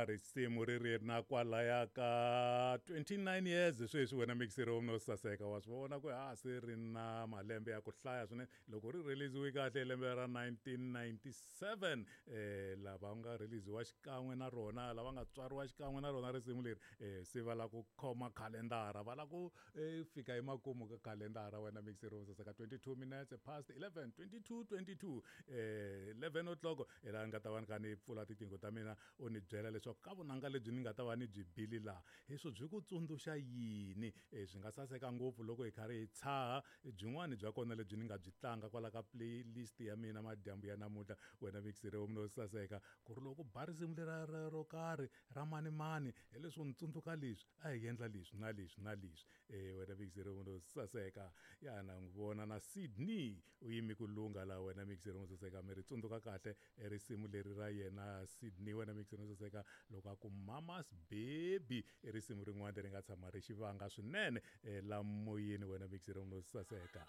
Ya, risimu ri ri na kwalaya ka 29 years sweswi. Wena mixero no saseka, wa swi vona ku ha se ri na malembe ya ku hlaya swinene. Loko ri releasiwe kahle lembe ra 1997, lava nga releasiwa xikan'we na rona, lava nga tswariwa xikan'we na rona risimu leri, se va lava ku khoma khalendara, va lava ku fika emakumu ka khalendara. Wena mixero saseka, 22 minutes past 11, 22 22, 11 o'clock hi laha ni nga ta va ni kha ni pfula tiqingho ta mina, u ni byela leswaku ka vunanga lebyi ni nga ta va ni byi bili laha, hi swo byi ku tsundzuxa yini. Swi nga saseka ngopfu loko hi karhi hi tshaha byin'wani bya kona lebyi ni nga byi tlanga kwala ka playlist ya mina madyambu ya namuntlha. Wena mixere no saseka, ku ri loko ba risimu lera ro karhi ra manimani, hi leswo ni tsundzuka leswi a hi endla leswi na leswi na leswi. Wena mixere no saseka, ya na n'wi vona na Sydney u yimi ku lungha laha. Wena mixere no saseka, mi ri tsundzuka kahle risimu leri ra yena Sydney. Wena mixere no saseka, loko a ku "Mama's Baby", i risimu rin'wana leri nga tshama ri xivanga swinene la moyeni. Wena mixere no saseka.